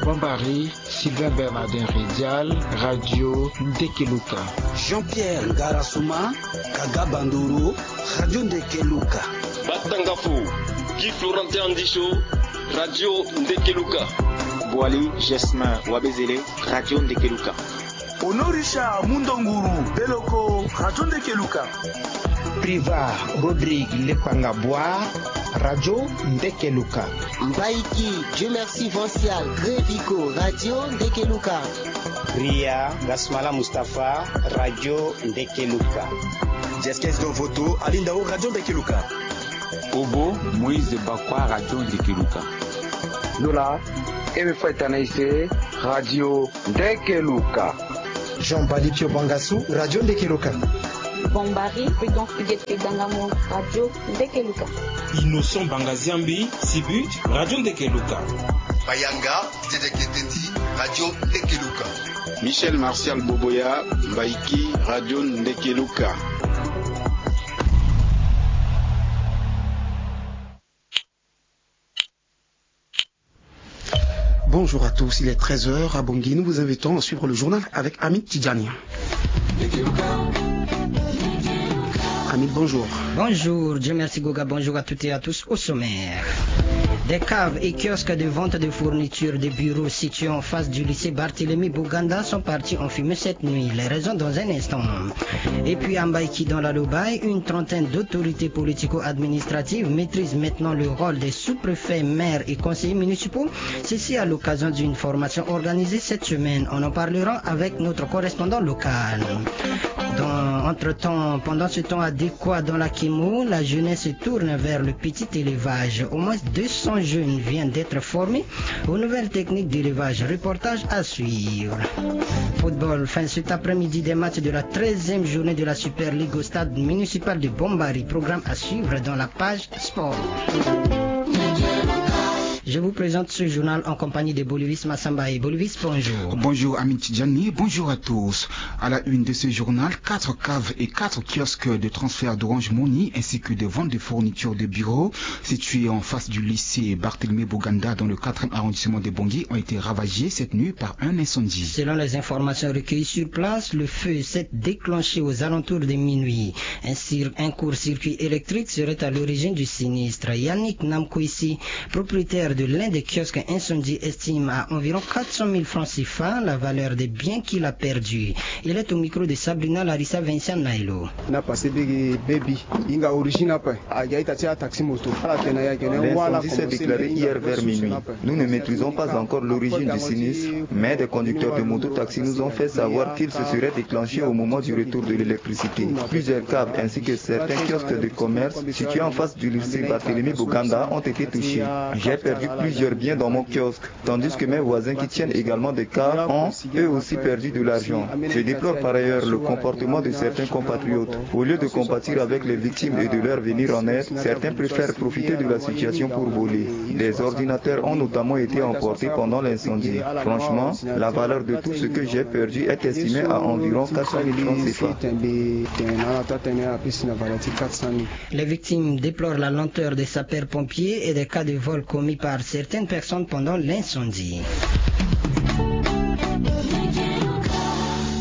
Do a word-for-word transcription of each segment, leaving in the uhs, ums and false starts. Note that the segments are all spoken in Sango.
Bambari, Sylvain Bernardin Redial, Radio Ndekeluka. Jean-Pierre Ngarasuma, Kaga Bandoro, Radio Ndekeluka. Batangafo, Guy Florentin Andisho, Radio Ndekeluka. Boali Gesmin Wabezele, Radio Ndekeluka. Honorisha Mundonguru Beloko, Radio Ndekeluka. Priva Rodrigue Lepanga Bois, Radio Ndekeluka. Mbaiki Dieu Merci Vancial Grévico, Radio Ndekeluka. Ria Gasmala Mustapha, Radio Ndekeluka. Jeskes Dovoto Alindao, Radio Ndekeluka. Obo Moïse Bakwa, Radio Ndekeluka. Nola Ewe Fweta Naise, Radio Ndekeluka. Jean Bali Pio Bangasu, Radio Ndekeluka. Bombari Prudence Pigete Dangamo, Radio Ndekeluka. Innocent Bangaziambi Sibut, Radio Ndekeluka. Bayanga Dede Ketendi, Radio Ndekeluka. Michel Martial Boboya, Mbaiki, Radio Ndekeluka. Bonjour à tous, il est treize heures à Bangui. Nous vous invitons à suivre le journal avec Amine Tidjani. Amine, bonjour. Bonjour, Dieu merci Goga, bonjour à toutes et à tous. Au sommaire, des caves et kiosques de vente de fournitures de bureaux situés en face du lycée Barthélemy Bouganda sont partis en fumée cette nuit. Les raisons dans un instant. Et puis à Mbaïki dans la Lobaye, une trentaine d'autorités politico-administratives maîtrisent maintenant le rôle des sous-préfets, maires et conseillers municipaux. Ceci à l'occasion d'une formation organisée cette semaine. On en parlera avec notre correspondant local. Dans, entre-temps, pendant ce temps, à Décois, dans la Kimo, la jeunesse se tourne vers le petit élevage. Au moins deux cents jeunes viennent d'être formés aux nouvelles techniques d'élevage. Reportage à suivre. Football, fin cet après-midi des matchs de la treizième journée de la Super League au stade municipal de Bombari. Programme à suivre dans la page sport. Je vous présente ce journal en compagnie de Bolivis Massamba. Et Bolivis, bonjour. Bonjour Amine Tidjani, bonjour à tous. À la une de ce journal, quatre caves et quatre kiosques de transfert d'Orange Money ainsi que des ventes de fournitures de bureaux situées en face du lycée Barthélemy Bouganda dans le quatrième arrondissement de Bangui ont été ravagés cette nuit par un incendie. Selon les informations recueillies sur place, le feu s'est déclenché aux alentours de minuit. Un cir-, un court-circuit électrique serait à l'origine du sinistre. Yannick Namkwesi, propriétaire de l'un des kiosques incendiés, estime à environ quatre cent mille francs CFA la valeur des biens qu'il a perdus. Il est au micro de Sabrina Larissa Vincent Nailo. Na passé bege baby, inga origine apa. L'incendie s'est déclaré hier vers minuit. Nous ne maîtrisons pas encore l'origine du sinistre, mais des conducteurs de mototaxi nous ont fait savoir qu'il se serait déclenché au moment du retour de l'électricité. Plusieurs caves ainsi que certains kiosques de commerce situés en face du lycée Barthélemy Bouganda ont été touchés. J'ai perdu plusieurs biens dans mon kiosque, tandis que mes voisins qui tiennent également des caves ont eux aussi perdu de l'argent. Je déplore par ailleurs le comportement de certains compatriotes. Au lieu de compatir avec les victimes et de leur venir en aide, certains préfèrent profiter de la situation pour voler. Des ordinateurs ont notamment été emportés pendant l'incendie. Franchement, la valeur de tout ce que j'ai perdu est estimée à environ quatre cent mille francs CFA. Les victimes déplorent la lenteur des sapeurs-pompiers et des cas de vol commis par certaines personnes pendant l'incendie.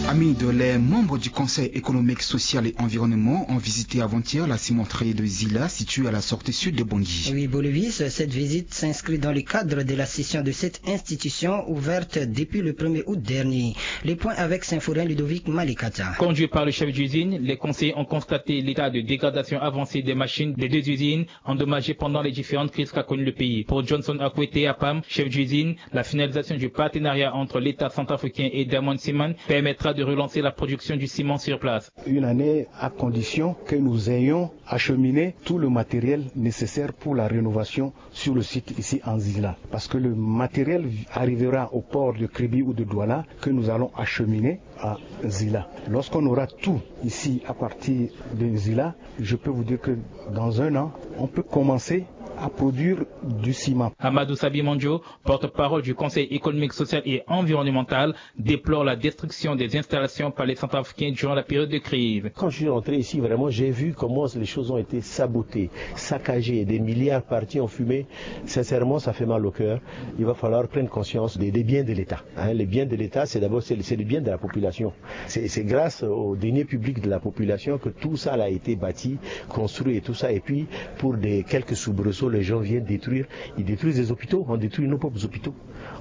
Amine, les membres du Conseil économique, social et environnement ont visité avant-hier la cimenterie de Zila, située à la sortie sud de Bangui. Oui, Bolivis, cette visite s'inscrit dans le cadre de la session de cette institution ouverte depuis le premier août dernier. Les points avec Symphorien Ludovic Malikata. Conduit par le chef d'usine, les conseillers ont constaté l'état de dégradation avancée des machines des deux usines endommagées pendant les différentes crises qu'a connues le pays. Pour Johnson Akwete Apam, chef d'usine, la finalisation du partenariat entre l'État centrafricain et Diamond Cement permettra de relancer la production du ciment sur place. Une année à condition que nous ayons acheminé tout le matériel nécessaire pour la rénovation sur le site ici en Zila. Parce que le matériel arrivera au port de Kribi ou de Douala que nous allons acheminer à Zila. Lorsqu'on aura tout ici à partir de Zila, je peux vous dire que dans un an, on peut commencer à produire du ciment. Amadou Sabi Mandjo, porte-parole du Conseil économique, social et environnemental, déplore la destruction des installations par les Centrafricains durant la période de crise. Quand je suis rentré ici, vraiment, j'ai vu comment les choses ont été sabotées, saccagées, des milliards partis en fumée. Sincèrement, ça fait mal au cœur. Il va falloir prendre conscience des, des biens de l'État. Hein, les biens de l'État, c'est d'abord, c'est le, c'est le bien de la population. C'est, c'est grâce aux deniers publics de la population que tout ça a été bâti, construit et tout ça. Et puis, pour des quelques soubresauts, les gens viennent détruire. Ils détruisent les hôpitaux. On détruit nos propres hôpitaux.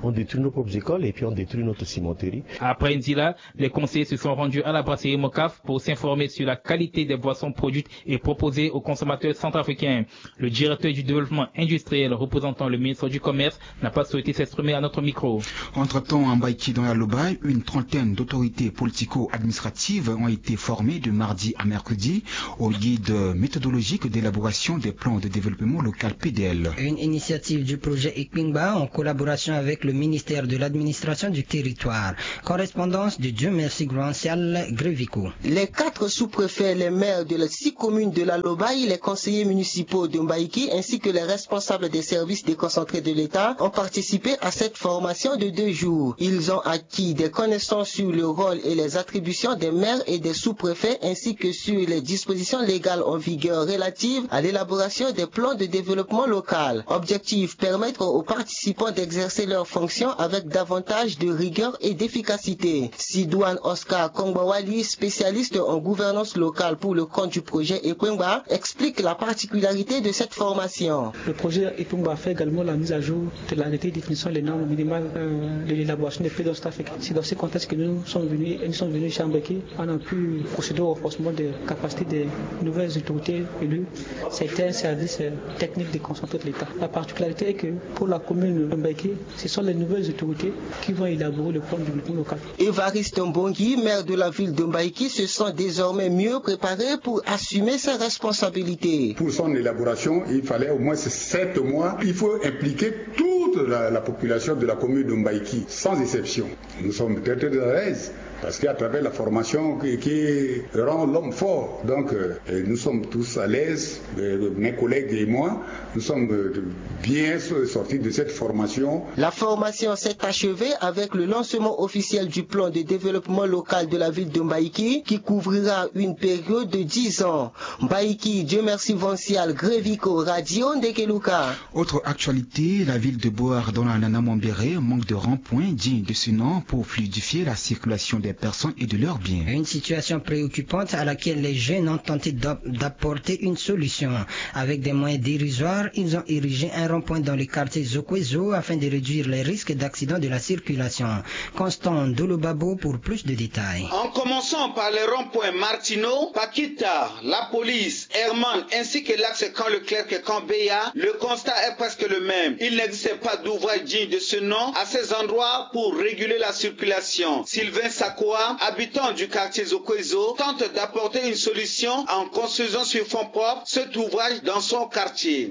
On détruit nos propres écoles et puis on détruit notre cimenterie. Après Ndila, les conseillers se sont rendus à la brasserie Mocaf pour s'informer sur la qualité des boissons produites et proposées aux consommateurs centrafricains. Le directeur du développement industriel représentant le ministre du Commerce n'a pas souhaité s'exprimer à notre micro. Entre-temps, à Mbaïki, dans la Lobaye, une trentaine d'autorités politico-administratives ont été formées de mardi à mercredi au guide méthodologique d'élaboration des plans de développement local, P D L. Une initiative du projet Ekpingba en collaboration avec le ministère de l'Administration du Territoire. Correspondance de Dieu Merci Grancial Grévico. Les quatre sous-préfets, les maires de les six communes de la Lobaye, les conseillers municipaux de Mbaïki ainsi que les responsables des services déconcentrés de l'État ont participé à cette formation de deux jours. Ils ont acquis des connaissances sur le rôle et les attributions des maires et des sous-préfets ainsi que sur les dispositions légales en vigueur relatives à l'élaboration des plans de développement local. Objectif, permettre aux participants d'exercer leurs fonctions avec davantage de rigueur et d'efficacité. Sidouane Oscar Kongbawali, spécialiste en gouvernance locale pour le compte du projet Ekpingba, explique la particularité de cette formation. Le projet Ekpingba fait également la mise à jour de l'arrêté définissant les normes minimales, euh, de l'élaboration des plans de Centrafrique. C'est dans ce contexte que nous sommes venus, et nous sommes venus ici à Mbaïki. On a pu procéder au renforcement des capacités des nouvelles autorités élues. C'était un service, euh, technique déconcentré de l'État. La particularité est que pour la commune de Mbaïki, ce sont les nouvelles autorités qui vont élaborer le plan de développement local. Évariste Mbongi, maire de la ville de Mbaïki, se sent désormais mieux préparé pour assumer ses responsabilités. Pour son élaboration, il fallait au moins sept mois. Il faut impliquer toute la, la population de la commune de Mbaïki, sans exception. Nous sommes très, très à l'aise. Parce qu'à travers la formation qui, qui rend l'homme fort. Donc, euh, nous sommes tous à l'aise, euh, mes collègues et moi, nous sommes, euh, bien so-, sortis de cette formation. La formation s'est achevée avec le lancement officiel du plan de développement local de la ville de Mbaïki qui couvrira une période de dix ans. Mbaïki, Dieu merci Vancial Grévico, Radio Ndekeluka. Autre actualité, la ville de Bouar dans la Nana Mambéré manque de rond-point digne de ce nom pour fluidifier la circulation des personnes et de leurs biens. Une situation préoccupante à laquelle les jeunes ont tenté d'ap-, d'apporter une solution. Avec des moyens dérisoires, ils ont érigé un rond-point dans le quartier Zokwezo afin de réduire les risques d'accident de la circulation. Constant Dolobabo pour plus de détails. En commençant par les ronds-points Martineau, Paquita, la police, Herman, ainsi que l'axe Camp Leclerc, Camp Béa, le constat est presque le même. Il n'existe pas d'ouvrage digne de ce nom à ces endroits pour réguler la circulation. Sylvain Sakoa, habitant du quartier Zokwezo, tente d'apporter une solution en construisant sur fonds propres cet ouvrage dans son quartier.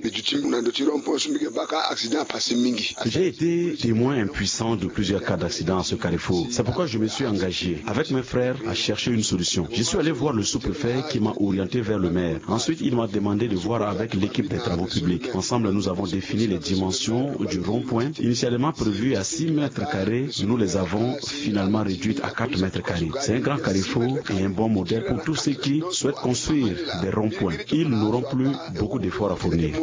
J'ai été témoin impuissant de plusieurs cas d'accident à ce carrefour. C'est pourquoi je me suis engagé avec mes frères à chercher une solution. Je suis allé voir le sous-préfet qui m'a orienté vers le maire. Ensuite, il m'a demandé de voir avec l'équipe des travaux publics. Ensemble, nous avons défini les dimensions du rond-point. Initialement prévu à six mètres carrés, nous les avons finalement réduites à quatre mètres carrés. C'est un grand carrefour et un bon modèle pour tous ceux qui souhaitent construire des ronds-points. Ils n'auront plus beaucoup d'efforts à fournir.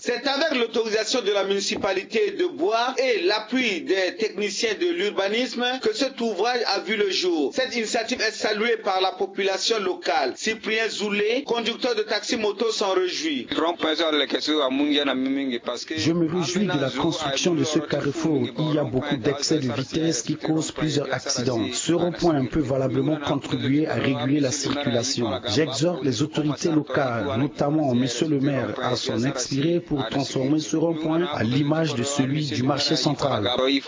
C'est avec l'autorisation de la municipalité de Bouar et l'appui des techniciens de l'urbanisme que cet ouvrage a vu le jour. Cette initiative est saluée par la population locale. Cyprien Zoulé, conducteur de taxi-moto, s'en réjouit. Je me réjouis de la construction de ce carrefour. Il y a beaucoup d'excès de vitesse qui causent plusieurs accidents. Ce rond-point peut valablement contribuer à réguler la circulation. J'exhorte les autorités locales, notamment monsieur le maire, à s'en inspirer pour transformer ce rond-point à l'image de celui du marché central. Les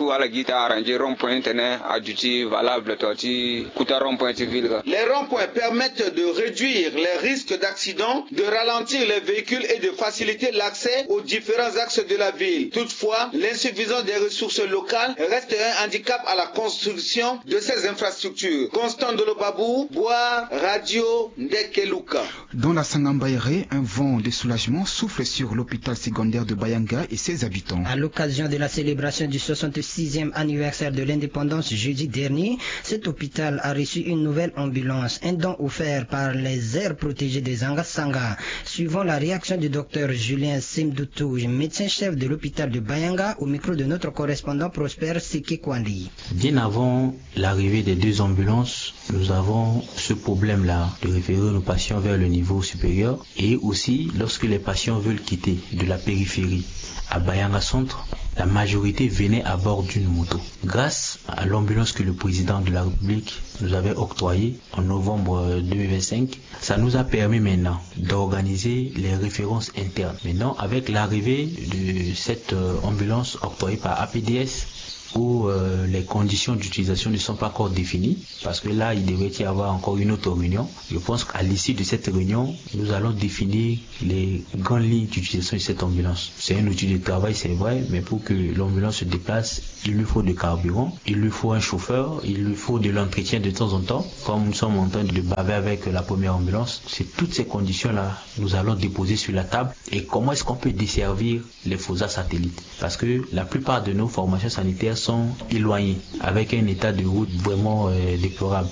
ronds-points permettent de réduire les risques d'accident, de ralentir les véhicules et de faciliter l'accès aux différents axes de la ville. Toutefois, l'insuffisance des ressources local reste un handicap à la construction de ces infrastructures. Constant Ndolo Babou, Boa, Radio Ndekeluka. Dans la Sangambaéré, un vent de soulagement souffle sur l'hôpital secondaire de Bayanga et ses habitants. À l'occasion de la célébration du soixante-sixième anniversaire de l'indépendance jeudi dernier, cet hôpital a reçu une nouvelle ambulance, un don offert par les aires protégées des Angasanga. Suivant la réaction du docteur Julien Semdoutou, médecin-chef de l'hôpital de Bayanga, au micro de notre correspondant Prosper Sekekwandi. Bien avant l'arrivée des deux ambulances, nous avons ce problème-là de référer nos patients vers le niveau supérieur. Et aussi, lorsque les patients veulent quitter de la périphérie à Bayanga Centre, la majorité venait à bord d'une moto. Grâce à l'ambulance que le président de la République nous avait octroyée en novembre deux mille vingt-cinq, ça nous a permis maintenant d'organiser les références internes. Maintenant, avec l'arrivée de cette euh, ambulance octroyée par A P D S, où euh, les conditions d'utilisation ne sont pas encore définies, parce que là, il devait y avoir encore une autre réunion. Je pense qu'à l'issue de cette réunion, nous allons définir les grandes lignes d'utilisation de cette ambulance. C'est un outil de travail, c'est vrai, mais pour que l'ambulance se déplace, il lui faut de carburant, il lui faut un chauffeur, il lui faut de l'entretien de temps en temps. Comme nous sommes en train de baver avec la première ambulance, c'est toutes ces conditions-là, nous allons déposer sur la table. Et comment est-ce qu'on peut desservir les FOSA satellites ? Parce que la plupart de nos formations sanitaires sont éloignées, avec un état de route vraiment euh, déplorable.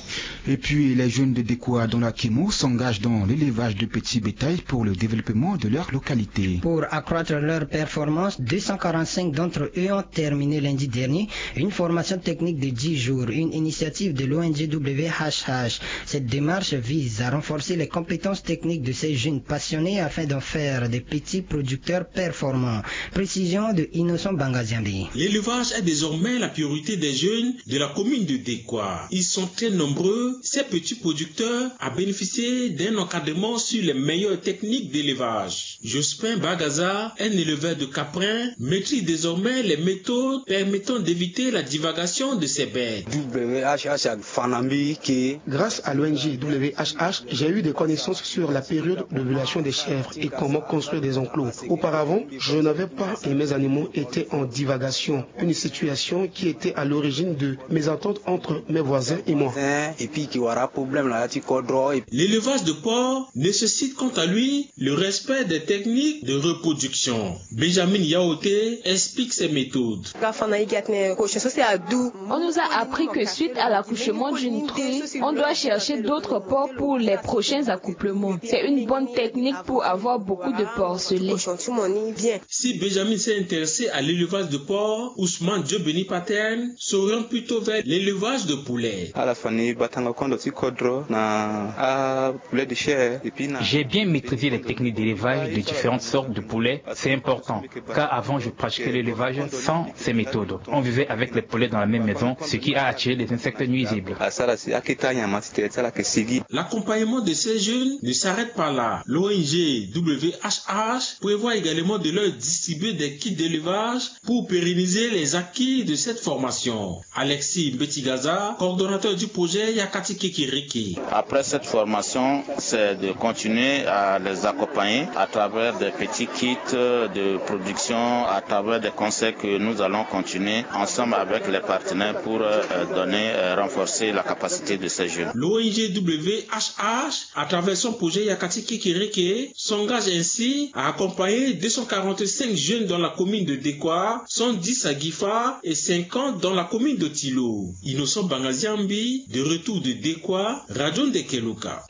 Et puis, les jeunes de Dekoa dans la Kemo s'engagent dans l'élevage de petits bétails pour le développement de leur localité. Pour accroître leur performance, deux cent quarante-cinq d'entre eux ont terminé lundi dernier une formation technique de dix jours, une initiative de l'O N G W H H. Cette démarche vise à renforcer les compétences techniques de ces jeunes passionnés afin d'en faire des petits producteurs performants. Précision de Innocent Bangaziambi. L'élevage est désormais la priorité des jeunes de la commune de Dekoa. Ils sont très nombreux, ces petits producteurs, à bénéficier d'un encadrement sur les meilleures techniques d'élevage. Jospin Bagaza, un éleveur de caprins, maîtrise désormais les méthodes permettant d'éviter la divagation de ces bêtes. W H H Fanambi qui Grâce à l'O N G W H H, j'ai eu des connaissances sur la période d'ovulation des chèvres et comment construire des enclos. Auparavant, je n'avais pas et mes animaux étaient en divagation, une situation qui était à l'origine de mésentente entre mes voisins et moi. L'élevage de porc nécessite quant à lui le respect des techniques de reproduction. Benjamin Yaoté explique ses méthodes. On nous a appris que suite à l'accouchement d'une truie, on doit chercher d'autres porcs pour les prochains accouplements. C'est une bonne technique pour avoir beaucoup de porcelets. Si Benjamin s'est intéressé à l'élevage de porcs, Ousmane Diobeni Paterne s'oriente plutôt vers l'élevage de poulets. J'ai bien maîtrisé les techniques d'élevage de différentes sortes de poulets. C'est important, car avant je pratiquais l'élevage sans ces méthodes. On vivait avec les poulets dans la même maison, ce qui a attiré les insectes nuisibles. L'accompagnement de ces jeunes ne s'arrête pas là. L'O N G W H H prévoit également de leur distribuer des kits d'élevage pour pérenniser les acquis de cette formation. Alexis Mbetigaza, coordonnateur du projet Yakati Kekiriki. Après cette formation, c'est de continuer à les accompagner à travers des petits kits de production, à travers des conseils que nous allons continuer ensemble avec les partenaires pour euh, donner, euh, renforcer la capacité de ces jeunes. L'O N G W H H, à travers son projet Yakati Kekiriki, s'engage ainsi à accompagner deux cent quarante-cinq jeunes dans la commune de Dekoa, cent dix à Gifa et cinquante dans la commune de Tilo. Innocent Bangaziambi, de retour de Dekoa, Radio Ndekeloka.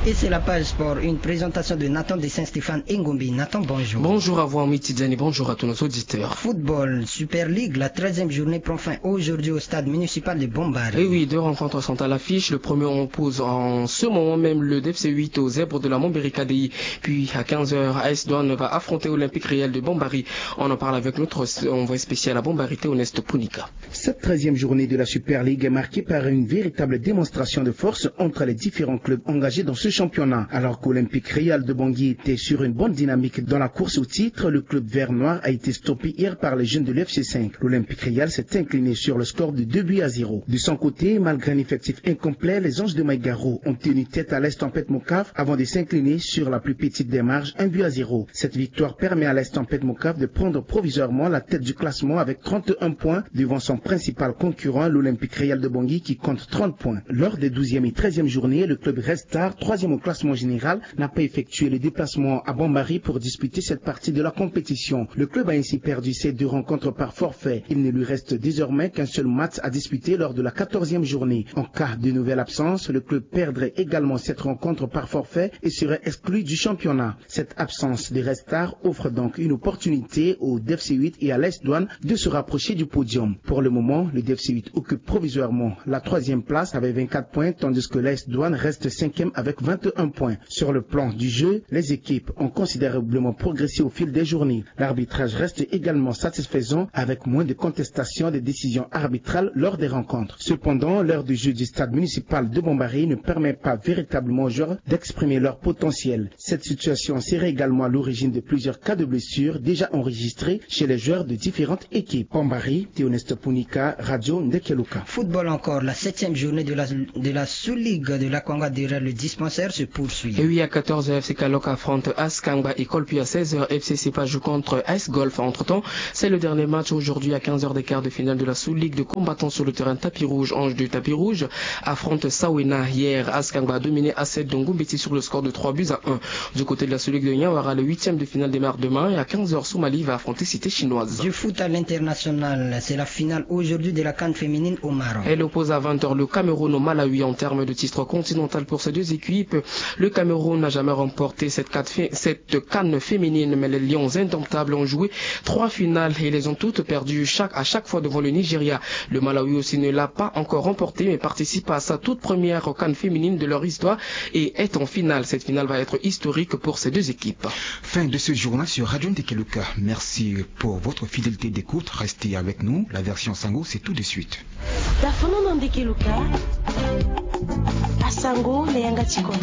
Et c'est la page sport, une présentation de Nathan de Saint-Stéphane Engombi. Nathan, bonjour. Bonjour à vous, Amitidiani, bonjour à tous nos auditeurs. Football, Super League, la treizième journée prend fin aujourd'hui au stade municipal de Bombari. Et oui, deux rencontres sont à l'affiche. Le premier oppose en ce moment même le D F C huit aux Zèbres de la Montberry K D I. Puis à quinze heures, A S Douane va affronter Olympique Réel de Bombari. On en parle avec notre envoyé spécial à Bombari, Théoneste Punika. Cette treizième journée de la Super League est marquée par une véritable démonstration de force entre les différents clubs engagés dans ce championnat. Alors que l'Olympique Real de Bangui était sur une bonne dynamique dans la course au titre, le club vert noir a été stoppé hier par les jeunes de l'F C cinq. L'Olympique Real s'est incliné sur le score de deux buts à zéro. De son côté, malgré un effectif incomplet, les Anges de Maïgaro ont tenu tête à l'Est Tempête Mocaf avant de s'incliner sur la plus petite des marges, un but à zéro. Cette victoire permet à l'Est Tempête Mocaf de prendre provisoirement la tête du classement avec trente et un points devant son principal concurrent, l'Olympique Real de Bangui, qui compte trente points. Lors des douzième et treizième journées, le club Red Star, troisième au classement général, n'a pas effectué le déplacement à Bambari pour disputer cette partie de la compétition. Le club a ainsi perdu ses deux rencontres par forfait. Il ne lui reste désormais qu'un seul match à disputer lors de la quatorzième journée. En cas de nouvelle absence, le club perdrait également cette rencontre par forfait et serait exclu du championnat. Cette absence de Red Star offre donc une opportunité au D F C huit et à l'A S Douanes de se rapprocher du podium. Pour le moment, le D F C huit occupe provisoirement la troisième place avec vingt-quatre points, tandis que l'A S Douanes reste cinquième avec vingt et un points. Sur le plan du jeu, les équipes ont considérablement progressé au fil des journées. L'arbitrage reste également satisfaisant avec moins de contestation des décisions arbitrales lors des rencontres. Cependant, l'heure de jeu du stade municipal de Bambari ne permet pas véritablement aux joueurs d'exprimer leur potentiel. Cette situation serait également à l'origine de plusieurs cas de blessures déjà enregistrés chez les joueurs de différentes équipes. Bambari, Théoneste Punika, Radio Ndekeluka. Football encore, la septième journée de la, de la sous-ligue de l'Akwanga derrière le dispensaire se poursuit. Et oui, à quatorze heures, F C Kalok affronte Askangba École, puis à seize heures, F C Sepa joue contre Ice Golf. Entre-temps, c'est le dernier match aujourd'hui à quinze heures des quarts de finale de la sous-ligue de combattants sur le terrain tapis rouge. Ange de tapis rouge affronte Sawena. Hier, Askangba a dominé Asset de Ngumbeti sur le score de trois buts à un. Du côté de la sous-ligue de Niawara, le huitième de finale démarre demain et à quinze heures, Somalie va affronter Cité Chinoise. Du foot à l'international, c'est la finale aujourd'hui de la CAN féminine au Maroc. Elle oppose à vingt heures le Cameroun au Malawi en termes de titre continental pour ces deux équipes. Le Cameroun n'a jamais remporté cette CAN fé-, cette CAN féminine, mais les Lions indomptables ont joué trois finales et les ont toutes perdues chaque, à chaque fois devant le Nigeria. Le Malawi aussi ne l'a pas encore remporté, mais participe à sa toute première CAN féminine de leur histoire et est en finale. Cette finale va être historique pour ces deux équipes. Fin de ce journal sur Radio Ndekeluka. Merci pour votre fidélité d'écoute. Restez avec nous. La version Sango, c'est tout de suite. Tafono na Ndekeluka. Asango na yanga ti kodro.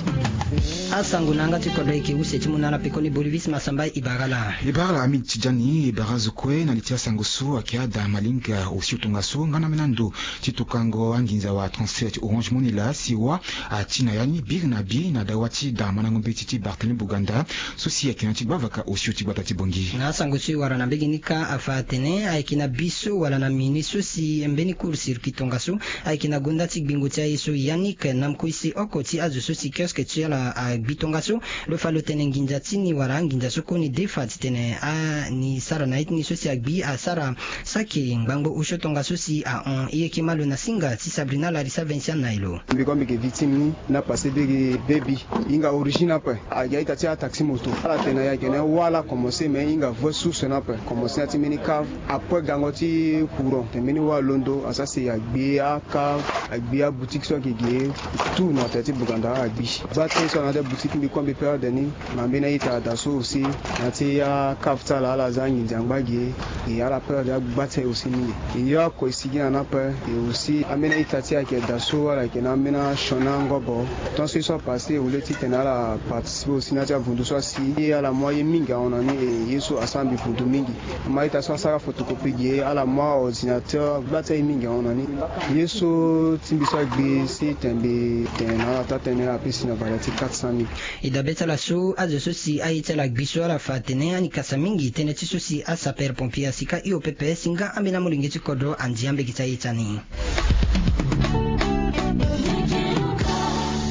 Asango na yanga ti kodro ayeke use ti mu na ala pekoni Bolivis Masamba Ibarala. Ibarala Amid Tidjani, Ibara zo kue na li ti asango so ayeke ada malinga osio tongaso nga na ambeni ando ti tokango anginza wa transfert ti Orange Money laa si wa ati na ya ni biri na bi na dawa ti da mandango mbeti ti Barthélemy Boganda so si ayeke na ya ti gbavaka osio ti gbata ti Bangui. Na asango so e wara na mbege ni kâ afa atene ayeke na bi so wala na mini so si mbeni court circuit tongaso ayeke na gonda ti gbingo ti aye so Yannick Namkoisi oko ti azo so si kiosque ti ala agbi tongaso. Lo fa lo tene nginza ti ni wala anginza so koni defa titene ani sara na ye ti ni so si agbi asara saki ngbangbo osio tongaso si ahon. E yeke ma lo na singa ti Sabrina Larissa Vincent na e lo. Mbi kue mbi yeke victime ni. Na passé biri baby. Hinga origine ape. Ayeke a-ita ti ataxi moto. Ala tene ayeke na wâ la commencé mais hinga vrai source ni ape. Commencé na ya ti mbeni cave. Après gango ti courant. Tene mbeni wâ alondo asara si agbi acave, agbi aboutique so ayeke ge. Tout na terre ti Boganda agbi. Gba ti so na ya ti aboutique mbi kue mbi perdre ni. Na mbeni a-ita ada so aussi na ya ti acave ti ala ala za anginza angba ge. E ala perdre agba ti aye aussi mingi. E yo oko e sigi na ni ape. E aussi ambeni a-ita ti e ayeke da so ala yeke na ambeni asioni angobo. Tant so ye so apassé au lieu titene ala participer aussi na ya ti avundu so asi. Ye ala mu aye mingi ahon na ni. E ye so asara mbi vundu mingi. Mo a-ita so asara photocopie ge ala mu aordinateur agba ti aye mingi ahon na ni. Ye so ti mbi so agbi si tene mbi tene na ala taa tënë apesi na valeur ti quatre cent mille. E dabe ti ala so azo so si aye ti ala gbi so ala fa atene ani kasa mingi tënë ti so si asapeur pompier asika hio pepe si nga ambeni amolenge ti kodro andi ambege ti aye ti ani.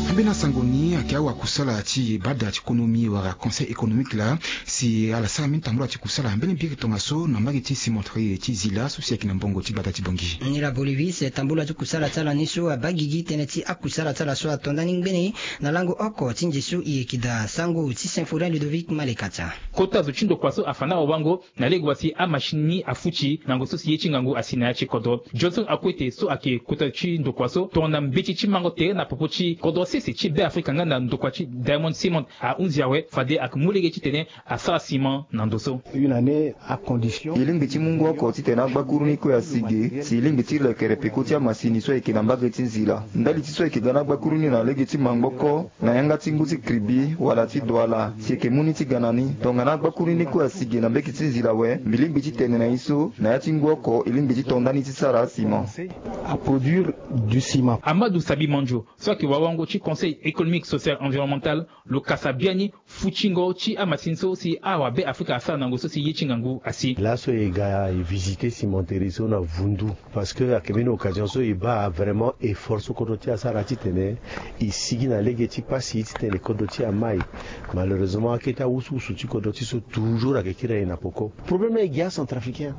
Ambeni asango ni ayeke awakusala ti bada ti konomi wala conseil économique laa si ala sara mbeni tambula ti kusala mbeni biri tongaso na mbage ti cimenterie ti Zila so si ayeke na mbongo ti gbata ti Bangui. Ni la Bolivis tambula ti kusala ti ala ni so abaa gigi tënë ti akusala ti ala so ato ndani ngbene na lango oko ti nze so e yeke daa sango ti Symphorien Ludovic Malekatia. Kota zo ti ndokua so afa na wawango na lege wa si amachine ni afuti na ngonzo so si ye ti ngangu asi na ya ti kodro. Johnson Akwete so ayeke kota ti ndokua so tongana mbeti ti mango tere na popo ti kodro sese ti Be Afrika nga Na ndokua ti Diamond Cement ahunzi awe fade ayeke mu lege titene asara ciment na ndo so. Une année à condition. E lingbi ti mungo oko titene agbakuru ni kue asi ge si e lingbi ti lekere peko ti amasini so ayeke na mbage ti nzila. Ndali ti so ayeke ga na agbakuru ni na lege ti mangboko na yanga ti ngu ti kribi wala ti Douala si eke mu ni ti ga na ni. Tongana agbakuru ni kue asi ge na mbage ti nzila awe, mbi lingbi ti tene na e so na ya ti ngu oko e lingbi ti to ndani ti sara ciment. À produire du ciment. Amadou Sabi Mandio so ayeke wawango ti Conseil économique, social, environnemental, lo kasa biani futingo ti amasini so si awabe Afrika asara na ngu so si ye ti ngangu asi. Laso e ga e visiter cimenterie so na vundu. Parce que ayeke mbeni occasion so e baa vraiment effort so kodro ti e asara titene e sigi na lege ti pasi titene kodro ti e amai. Malheureusement akete awusuwusu ti kodro ti e so toujours ayeke kiri na e na peko. Problème laa e gi acentrafricain.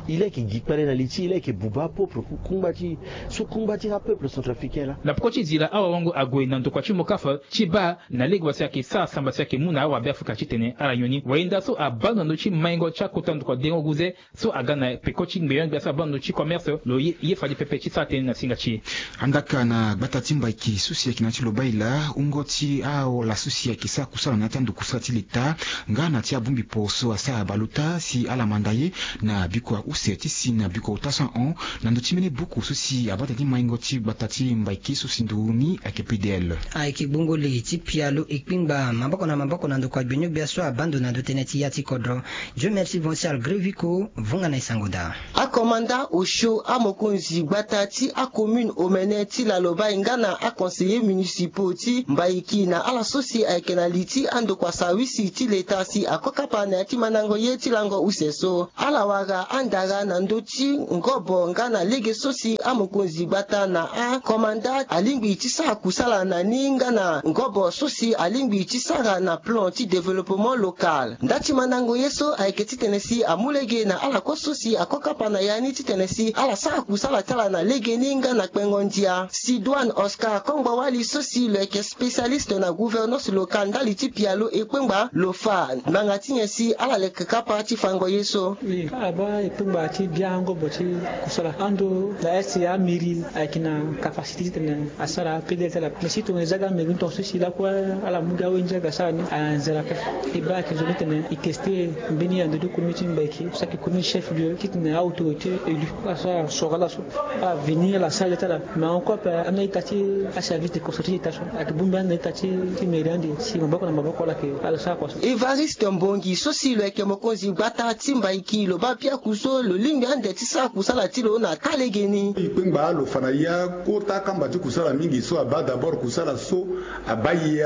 E laa e yeke gi kpale na li ti e, e laa e yeke buba apeuple ku kungba ti e so kungba ti apeuple centrafricain laa. Na peko ti zila awawango ague na ndokua ti Mokafa ti baa na lege wa si ayeke sara samba si ayeke mu na awabe Afrika titene ala nyon ni. Wayenda so abaa na ndö ti maingo ti akota ndokua dengo guze so aga na peko ti ngbenyo-gbia so abaa na ndö ti commerce lo ye, ye fade pepe ti sara tënë na singa ti e. Andaka na gbata ti Mbaiki so si ayeke na ya ti Lobaila, wungo ti ala so si ayeke sara kusala na ya ti ando kusala ti leta nga na ti abongbi port so asara baleota si ala manda ye na bikua use ti si na bikua ota so ahon na ndö ti mbeni buku so si abata ti maingo ti gbata ti Mbaiki so si nduru ni ayeke P D L. Ayeke gbongo le ti pialo ekpengba maboko na maboko na ndokua gbinio-gbia so abaa ndo na ndö tënë ti ya ti kodro. Dieu merci Vincent Grévico, vunga na e sango daa. Akomanda osio amokonzi gbata ti acommune omene ti Lalobai nga na aconseillers municipaux ti Mbaiki na ala so si ayeke na li ti andokua sawisi ti leta si ako kapa na ya ti mandango ye ti lango use so. Ala wara andara na ndö ti ngobo nga na lege so si amokonzi gbata na akomanda alingbi ti sara kusala na ni nga na ngobo so si alingbi ti sara na plan ti développement local. Nda ti mandango ye so ayeke titene si amu lege na ala kue so si ako kapa na ya ni titene si ala sara kusala ti ala na legeni nga na kpengo ndia. Sidoine Oscar Kongbo Wali so si lo yeke spécialiste na gouvernance locale ndali ti pialo ekpengba lo fa ngbanga ti nyen si ala leke kapa ti fango ye so. Oui, ala baa ekpengba ti bia ngobo ti kusala ando na est amairie ayeke na capacité titene asara P D L ti ala. Mais si tongana e zia ga mairie ni tongaso si lakue ala mu ga awe ndia aga sara ni anzere ape. E baa ayeke zo ni titene e teste mbeni ando ti commune ti Mbaiki so ayeke commune chef lieu titene a-autorité élu ala sara soro ala so ala veni ala sara le ti ala. Mais encore ape ana ita ti aservice de construction ti ita so ayeke bongbi ana ita ti mairie ande si maboko na maboko ala yeke ala sara kua so. Évariste Mbongi so si lo yeke mokonzi gbata ti Mbaiki lo baa piaku so lo lingbi ande ti sara kusala ti lo na taa legeni. E kpengba lo fa na ya kota kamba ti kusala mingi so abaa d'abord kusala so abaa e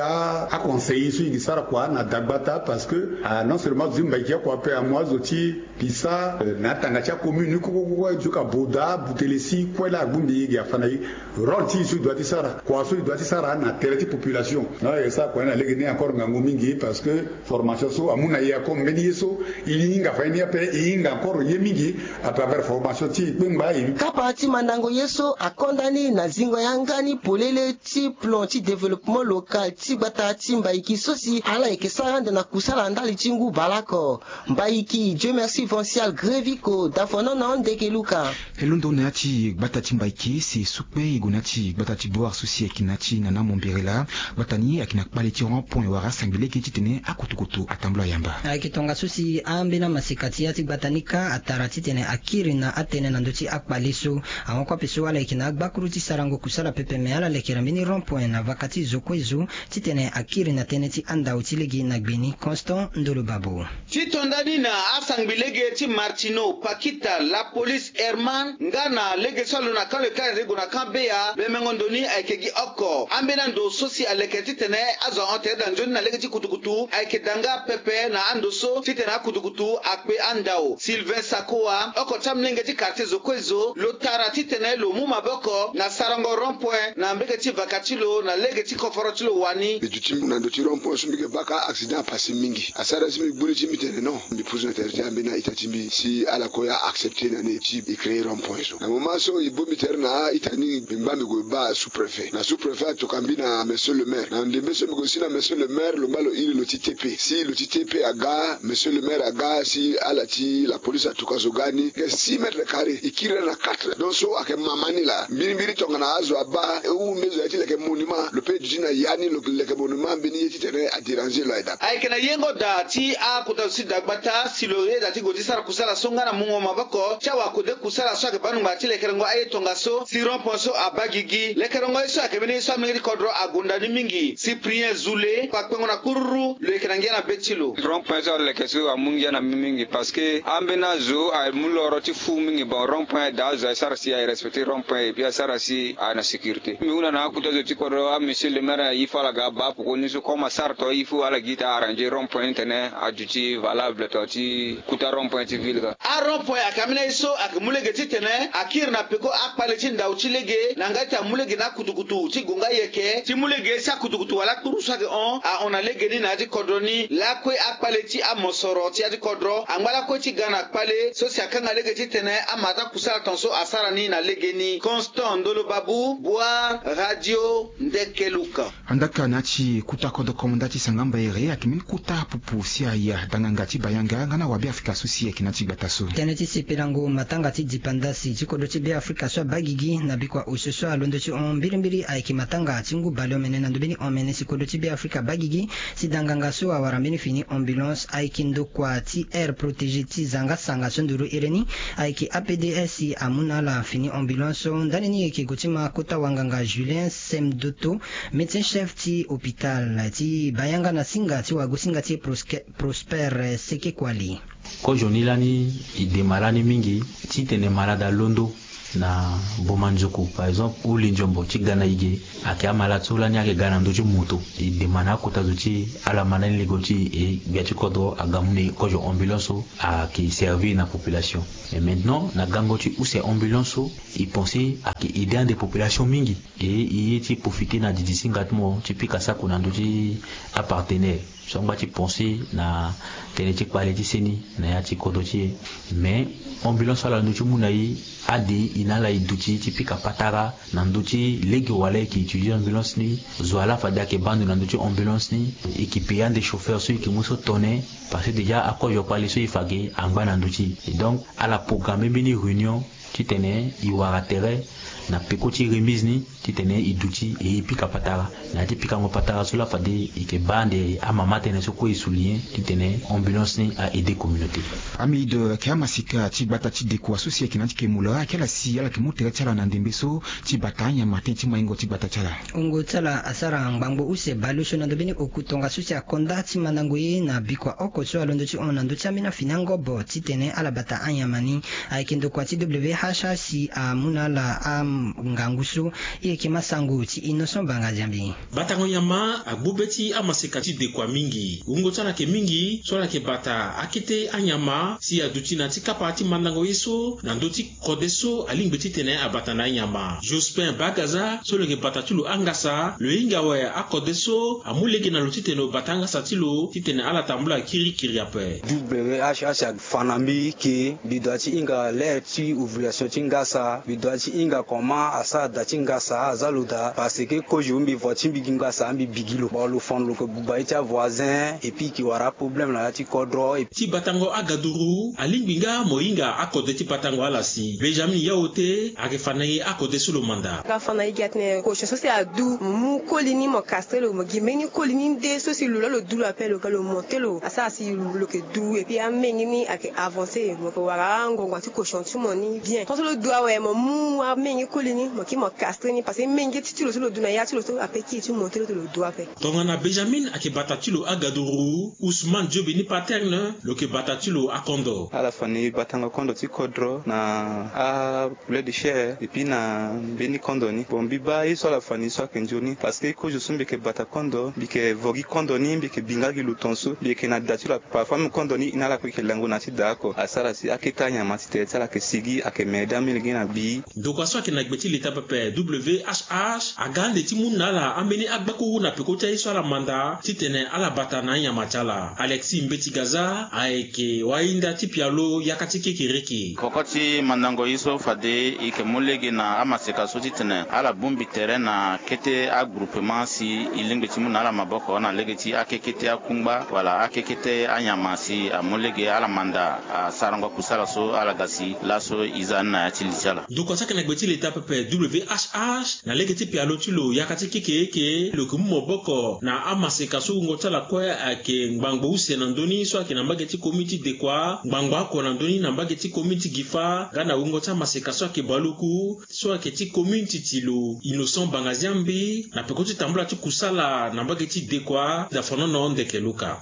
aconseiller so e yeke sara kua na dagbata parce que ah, non seulement azo ti Mbaiki akua ape amu azo ti pisa na atanga ti acommune ni koko koko aye ti ka boda butele si kue laa abongbi e gi afa na e. Rôle ti e so e doit ti sara kua so e doit ti sara na tere ti population. Non e sara kua ni na legeni encore ngangu mingi parce que formation so amu na e encore mbeni ye so e hinga fa ye ni ape e hinga encore ye mingi à travers formation ti e kpengba e. Kapa ti mandango ye so akonda ni na zingo yanga ni polele ti plan ti développement local ti gbata ti Mbaiki so si ala yeke sara ande na kusala ndali ti ngu baleoko. Mbaiki Dieu merci Vancial Grévico dafonono ndeke luka. E londo na ya ti gbata ti Mbaiki si e sukpe e gue na ya ti gbata ti Boar so si ayeke na ya ti nana Mombere laa. Gbata ni ayeke na kpale ti rond point wala asangbi lege titene akutukutu atambula yamba. Ayeke tongaso si ambeni amaseka ti ya ti gbata ni kâ atara titene akiri na atënë na ndö ti akpale so. Ahon kue ape so ala yeke na agbakuru ti sarango kusala pepe me ala lekere mbeni rond point na vaka ti zo kue zo titene akiri na tënë ti andao ti lege na gbe ni. Constant Ndolo Babo. Ti to ndani na asangbi lege ti Martino, Pakita, Lapolice, Herman nga na lege so alo na kan le kare gue na kan beya bemengo ndo ni ayeke gi oko. Ambeni ando so si aleke titene azo ahon tere daa nzoni na lege ti kutukutu ayeke daa nga pepe na ando so titene akutukutu akpe andao. Sylvain Sakoa oko ti amolenge ti quartier zo kue zo lo tara titene lo mu maboko na sarango rond point na mbege ti vaka ti lo na lege ti koforo ti lo wani. Mbi duti na ndo ti rond point so mbi yeke baa ka accident apase mingi asara si mbi gbu ni ti mbi tene non mbi pusu na tere ti ambeni a-ita ti mbi si ala kue a-accepter na ni ti e créer rond point so na moment so e bongbi tere na a-ita ni mbi ngba mbi gue baa sous-préfet na sous-préfet atoka mbi na monsieur le maire na ndembe so mbi gue si na monsieur le maire lo ngba lo iri lo ti T P si lo ti T P aga monsieur le maire aga si ala ti la police atoka zo. Ga ni ke six mètres carrés, e kiri laa na quatre. Donc so ayeke mama ni laa. Mbirimbiri tongana azo abaa e hunda zo ya ti leke monument, lo pe duti na ya ni lo leke monument mbeni ye titene adéranger lo aye daa. Ayeke na yengo daa ti akota zo ti dagbata si lo yeda ti gue ti sara kusala so nga na mungo maboko ti awakode kusala so ayeke baa ngbanga ti lekerengo aye tongaso si rond-point so abaa gigi. Lekerengo ye so ayeke mbeni ye so amolenge ti kodro agonda ni mingi. Cyprien Zoulé, kpakpengo na kururu, lo yeke na ngia na be ti lo. Rond-point so aleke so amu ngia na mbi mingi parce que ambeni azo amu loro ti fu mingi. Bon, rond-point daa azo asara si aye respecter rond-point et puis asara si aye na sécurité. Mbi hunda na akota zo ti kodro, a monsieur le maire, il faut ala ga abaa poko ni so comme asara to, il faut ala gi ti arranger rond-point ni titene aduti valable to ti kota rond-point ti ville ga. Arond-point ayeke ambeni aye so ayeke mu lege titene akiri na peko akpale ti ndau ti lege na nga ti amu lege na akutukutu ti gue nga yeke ti mu lege si akutukutu wala akpuru so ayeke hon ahon na lege ni na ya ti kodro ni. Lakue akpale ti amosoro ti ya ti kodro angba lakue ti ga na kpale so si akanga lege titene amata kusala tongaso asara ni na lege ni. Constant Ndolo Babou, Boire Radio, Ndeke Luka. Andaka na ya ti kota kodro komanda ti sanga mbaere ayeke mbeni kota pupu si aya danganga ti bayanga nga na wabeafrika so si ayeke na ya ti gbata so. Tënë ti sepelango matanga ti dipandasi ti kodro ti Beafrika so abaa gigi na bikua osio so alondo ti hon mbirimbiri ayeke matanga ti ngu baleomene na ndö mbeni omene si kodro ti Beafrika abaa gigi. Si danganga so awara mbeni fini ambulance ayeke ndokua ti aire protégée ti zanga sanga so nduru ere ni. Ayeke A P D S amu na ala fini ambulance so ndani ni yeke gue ti ma kota wanganga Julien Semdoto, médecin chef ti hôpital ti bayanga na singa ti wagosinga ti e Proske-, Prosper Sekekuali. Kozo ni lani e dema lani mingi titene malade alondo na boma nzoku, par exemple huli nzombo ti ga na e ge. Ayeke amalade so lani ayeke ga na ndö ti moto. E dema na akota zo ti e ala ma lani lego ti e gbia ti kodro aga mu na e kozo ambulance so ayeke servir na population. Mais maintenant na gango ti use ambulance so, e pense ayeke aider ande population mingi. E e ye ti profiter na didi singa ti mo ti pika sako na ndö ti apartenaire so angba ti pense na tënë ti kpale ti seni na ya ti kodro ti e. Mais ambulance so ala ndö ti mu na e, ade e na ala e duti ti pika patara na ndö ti lege wala e yeke utiliser ambulance ni. Zo wala fade ayeke baa ndo na ndö ti ambulance ni, e yeke payer ande chauffeur so e yeke mu so tone. Parce que déjà akozo kpale so e fa ge angba na ndö ti e. Donc ala programmer mbeni réunion titene e wara tere na peko ti remise ni titene e duti e pika patara. Na ya ti pikango patara so laa fade e yeke baa ande amama tënë so kue e souligner titene ambulance ni a aider communauté. Amide ayeke amasika ti gbata ti dekua so si ayeke na ya ti kemula ayeke ala si ala yeke mu tere ti ala na ndembe so ti bata anyama tënë ti maingo ti gbata ti ala. Wungo ti ala asara ngbangbo use baleosio na ndö mbeni oku tongaso si akonda ti mandango ye na bikua oko so alondo ti hon na ndö ti ambeni afini angobo titene ala bata anyama ni. Ayeke ndokua ti W H A si amu na ala angangu so. E yeke masango ti Innocent Banga Diambi. Batango nyama agbu be ti amaseka ti dekua mingi. Wungo ti ala yeke mingi so ala yeke bata akete anyama si aduti na ya ti kapa ti mandango ye so na ndö ti kode so alingbi titene abata na anyama. Jospin Bagaza so lo yeke bata ti lo angasa, lo hinga awe akode so amu lege na lo titene lo bata angasa ti lo titene ala tambula kirikiri ape. W H H afa na mbi ke mbi doit ti hinga l'heure ti ovulation ti ngasa, mbi doit ti hinga comment asara da ti ngasa aza lo daa, parce que kozo mbi vo ti mbi gi ngasa mbi bigi lo. Bon, lo fon lo ke buba ye ti avoisin et puis e ke wara aproblème na ya ti kodro. Ti batango agaduru alingbi nga mo hinga akode ti batango ala si. Benjamin Yaote ayeke fa na e akode so lo manda. Nga fa na e gi atene kozo so si adu, mo mu koli ni mo castre lo, mo gi mbeni koli ni nde so si lo laa lo du lo ape, lo ga lo monte lo asara si lo ke du. Et puis amenge ni ayeke avancer, mo ke wara angongo ti kozo ti mo ni bien. Tant so lo du awe mo mu amenge koli ni mo kiri mo castre ni, parce que menge ti ti lo so lo du na ya ti lo so ape kiri ti monte lo ti lo du ape. Tongana Benjamin ayeke bata ti lo agaduru, Ousmane Jobe ni paterne lo yeke bata ti lo akondo. Ala fa na e batango kondo ti kodro na a poulet de chair et puis na mbeni kondo ni. Bon, mbi baa ye so ala fa na e so ayeke nzoni, parce que kozo so mbi yeke bata kondo, mbi yeke vo gi kondo ni, mbi yeke bi nga gi lo tongaso, mbi yeke na da ti lo ape. Parfois même kondo ni e na ala kue e yeke lango na ya ti da oko. Asara si akete anyama ti tere ti ala ayeke sigi, ayeke mede amolenge na gbi. Ndokua so ayeke na Na gbe ti leta pepe W H H aga ande ti mu na ala ambeni agbakuru na peko ti aye so ala manda titene ala bata na anyama ti ala. Alexis Mbeti Gaza ayeke wainda ti pialo yaka ti kekereke. Peko ti mandango ye so fade e yeke mu lege na amaseka so titene ala bongbi tere na kete agroupement si e lingbi ti mu na ala maboko na lege ti akekete akungba wala akekete anyama si amu lege ala manda asarango kusala so ala ga si laso e za ni na ya ti li ti ala. Ndokua so ayeke na gbe ti leta pepe W H H na lege ti pialo ti lo yaka ti kekereke lo yeke mu maboko na amaseka so wungo ti ala kue ayeke ngbangbo use na ndö ni so ayeke na mbage ti komin ti Dekua, ngbangbo oko na ndö ni na mbage ti komin ti Gifa nga na wungo ti amaseka so ayeke baluku so ayeke ti komin ti ti lo Innocent Bangaziambi na peko ti tambula ti kusala na mbage ti Dekua. Dafonono Ndeke Luka.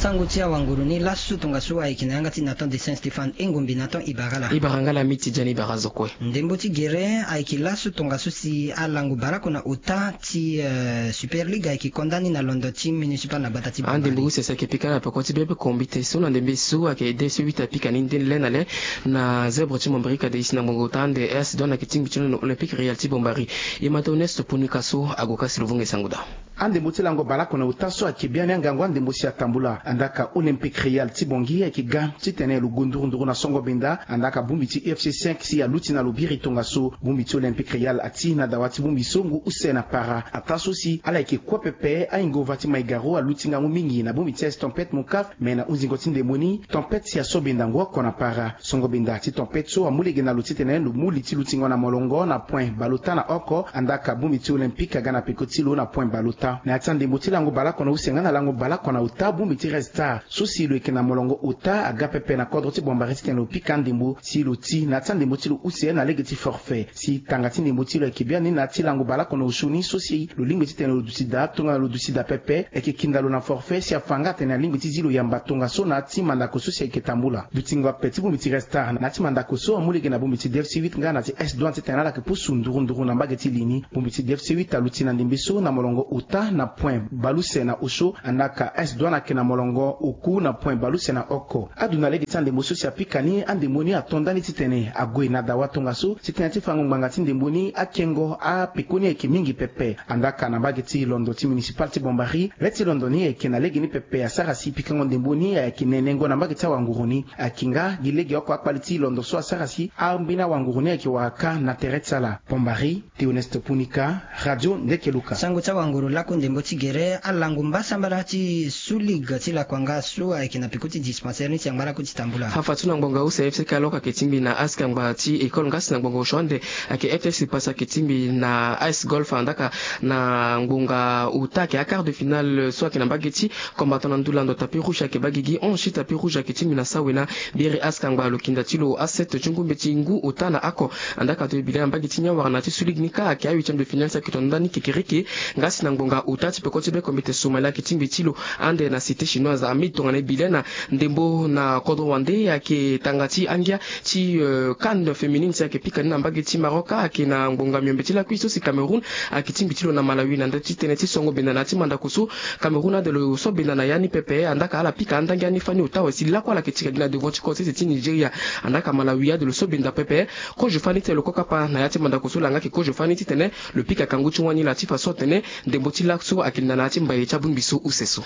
Sango ti awanguru ni laso tongaso ayeke na yanga ti Nathan de Saint Stéphane Engombi. Nathan, e bara la. E bara nga la Miti Jani, e bara zo kue. Ndembo ti gere ayeke laso tongaso si alango baleoko na ota ti, eh, Super League ayeke konda ni na londo ti municipal na gbata ti Bambari. Andembo use si ayeke pika na peko ti be be kombite so na ndembe so ayeke D C huit apika ni nde le na le na zèbre ti Mombari ka de isi na ngbongo ota ande S Douane ayeke tingbi ti lo na Olympique Royal ti Bombari. E ma Théoneste Punika so ague ka si lo vunga e sango daa. Andembo ti lango baleoko na ota so ayeke biani angangu andembo si atambula. Andaa ka Olympique Royal ti Bangui ayeke ga titene lo gue nduru nduru na songo benda. Andaa ka bongbi ti U F C cinq si aluti na lo biri tongaso. Bongbi ti Olympique Royal ati na dawa ti bongbi so ngu use na para. Ataa so si ala yeke kue pepe, ayingo va ti Maigaro aluti ngangu mingi na bongbi ti S Tempête Moncaf. Me na hunzingo ti ndembo ni, tempête si aso benda ngu oko na para. Songo benda ti tempête so amu lege na lo titene lo mu li ti lutingo na molongo na point baleota na oko. Andaa ka bongbi ti Olympique aga na peko ti lo na point baleota. Na ya ti andembo ti lango baleoko na use nga na lango baleoko na ota, bongbi ti Red Star so si lo yeke na molongo ota aga pepe na kodro ti Bombari titene lo pika andembo si lo ti na ya ti andembo ti lo use na lege ti forfait. Si tanga ti ndembo ti lo ayeke biani na ya ti lango baleoko na osio ni so si lo lingbi titene lo duti daa, tongana lo duti daa pepe, ayeke kinda lo na forfait si afa nga atene alingbi ti zi lo yamba tongaso na ya ti mandako so si ayeke tambula. Dutingo ape ti bongbi ti Red Star na ya ti mandako so amu lege na bongbi ti D F C huit nga na ti S Douane titene ala yeke pusu nduru nduru na mbage ti li ni. Bongbi ti D F C huit aluti na ndembe so na molongo ota na point baleuse na osio, andaa ka S Douane ayeke na molongo oku na point baleuse na oko. Adu na lege ti andembo so si apika ni, andembo ni ato ndani titene ague na dawa tongaso titene ti fango ngbanga ti ndembo ni akengo apekoni ayeke mingi pepe. Andaa ka na mbage ti londo ti municipal ti Bombari, le ti londo ni ayeke na lege ni pepe asara si pikango ndembo ni ayeke nenengo na mbage ti awanguru ni. Ayeke nga gi legeoko akpali ti londo so asara si ambeni awanguru ni ayeke wara kâ na tere ti ala. Bombari, Théoneste Punika, Radio Ndeke Luka. Sango ti awanguru lakue ndembo ti gere, alango mbasambala ti Sous Ligue ti lakua nga so ayeke na peko ti dispensaire ni si angba lakue ti tambula. Hafa ti na ngbonga use F C Kalok ayeke tingbi na askangba ti école nga si na ngbonga osio ande ayeke F C Pasa ayeke tingbi na A S Golf, andaa ka na ngbonga ota ayeke aquart de finale so ayeke na mbage ti combattant na ndula ndo tapis rouge ayeke baa gigi onze ti tapis rouge ayeke tingbi na sawena. Biri askangba lo kinda ti lo asept ti ngu mbeti ngu ota na oko. Andaa ka to e bi le na mbage ti nyon wara na ti Sous Ligue ni kâ ayeke ahuitième de finale so ayeke to ndani kekereke. Nga si na ngbonga ota ti peko ti be kombite Somalie ayeke tingbi ti lo ande na Cité Chinoise ami tongana e bi le na ndembo na kodro wande ayeke tanga ti angia ti, euh, CAN féminine si ayeke pika ni na mbage ti Maroc ayeke na ngbonga miombe ti lakui so si Cameroun ayeke tingbi ti lo na Malawi na ndö ti tënë ti songo benda na ya ti mandako so. Cameroun ade lo so benda na ya ni pepe, andaa ka ala pika andangi ani fani ota awe si lakue ala yeke tika gi na devant ti kosese ti Nigeria. Andaa ka Malawi ade lo so benda pepe, kozo fani ti lo kue kapa na ya ti mandako so langa ayeke kozo fani titene lo pika kangu ti wani laa ti fa so atene ndembo ti laso ayeke linda na ya ti mbaye ti abongbi so use so.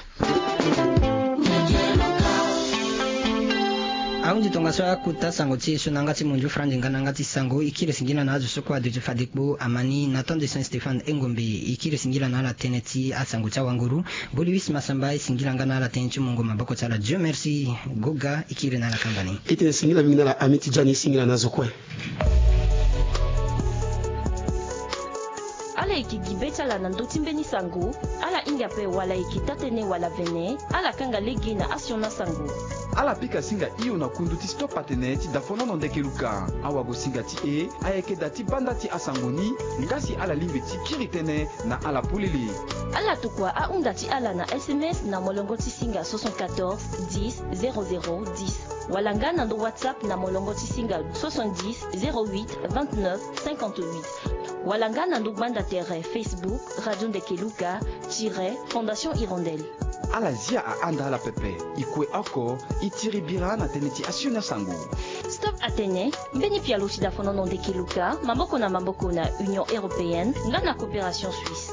Ahunzi tongaso akota sango ti e so na yanga ti munzu Franz nga na yanga ti sango. E kiri singila na azo so kue aduti fade kpo amani na temps de Saint Stéphane Engombe. E kiri singila na ala tënë ti asango ti awanguru. Boliwis Masamba e singila nga na ala tënë ti mungo maboko ti ala. Dieu merci. Goga e kiri na ala kamba ni. E tene singila mingi na ala ami ti jani e singila na azo kue. Ala yeke gi be ti ala na ndö ti mbeni sango. Ala hinga ape wala e yeke taa-tënë wala vene, ala kanga lege na asioni asango. Ala pika singa hio na kundu ti stop atene ti dafonono ndeke luka. Awagosinga ti e ayeke da ti banda ti asango ni, nga si ala lingbi ti kiri tënë na ala polele. Ala tokua ahunda ti ala na S M S na molongo ti singa soixante-quatorze dix zéro zéro dix. Wala nga na ndo WhatsApp na molongo ti singa soixante-dix zéro huit vingt-neuf cinquante-huit. Wala nga na ndo gbanda tere Facebook Radio Ndeke Luka tiret Fondation Hirondelle. Ala zia ahanda ala pepe. E kue oko, e tiri bira na tënë ti asioni asango. Stop atene, mbeni pialo si dafonono ndeke luka maboko na maboko na Union européenne nga na coopération suisse.